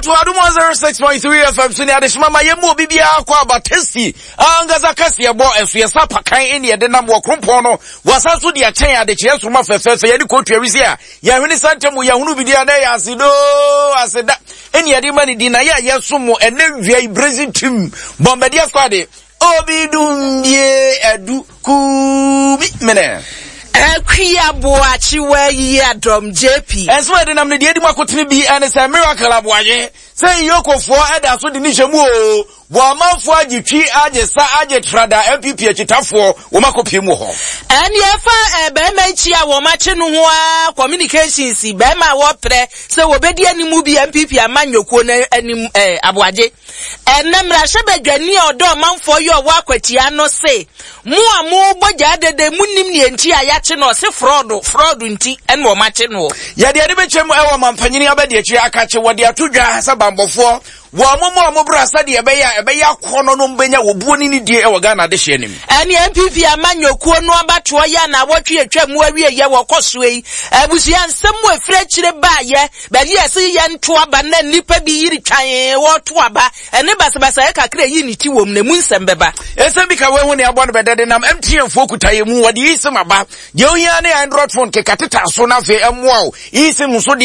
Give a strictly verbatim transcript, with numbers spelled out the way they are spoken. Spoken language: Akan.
Ato Adom one oh six point three F M so ne adehyema ma yɛmu obi biara kɔ aba tasty ankasa kɛseɛ bɔ ɛso yɛ sa pakan ne yɛde nam wɔ krompɔn no wɔasa so de akyɛn adekyeɛ nsoroma fɛfɛɛfɛ yɛde kɔtua wisi a yɛhwene santɛm yɛhunu bi deɛ na ɛyɛ asedoo aseda ɛne yɛde ma ne din na yɛ a yɛsom mo ɛnɛ wia yi brazil team bɔmbɛdeɛ squad obi dumbie adu kubi mene. Akua Boakyewa yi adɔm J P. Ɛnso ɛde nam no deɛ edi mu akotene bi ɛne sɛ Miracle Aboagye sɛ iyokofoɔ ɛda so de ne hyɛ mu o wɔ amanfoɔ agye twi agye sa agye trada N P P akyitafoɔ wɔn akɔpie mu hɔ. Ɛne ɛfa bɛrima akyi a wɔn akye no ho a communications bɛrima a wɔprɛ sɛ wɔbɛdi anim bi N P P amanyɔkuo no anim ɛɛ Aboagye ɛnɛ mmarahyɛbadwani a ɔdɔ ɔmanfoɔ yi ɔwɔ Akwatia no se mo a mobɔ gyaa dede mu nim neɛ nti a yɛakye no, ɔse fraud fraud nti ɛna wɔn akye no. Yɛde ɛde bɛkyɛm ɛwɔ mampanyini abɛde akyire akakye wɔde ato dwa sɛ bambɔfoɔ wɔn mo mu a mo bra sɛdeɛ ɛbɛyɛ a ɛbɛyɛ akɔnɔ no mbɛnya wɔ buo ne ne die ɛwɔ Ghana adehyeɛ nim. Ɛne N P P amanyɔkuo no abatoɔ yɛ na awɔtwe atwa mu awie yɛ wɔkɔ soɔ yi, abusua nsɛm mu efiri akyire baayɛ baabi a ɛsɛ yɛ nto aba na nnipa bi yiri twan wɔto aba ɛne basabasa yɛ kakra yi ne ti wɔm na emu nsɛm bɛba. Ɛsɛm bi ka wɔn ho ne abɔ no bɛdɛ de nam M T N foɔ kuta yɛ mu wɔde eSIM aba. Deɛ ohia ne Android phone keka teta so na afei ɛmoa wo eSIM nso deɛ.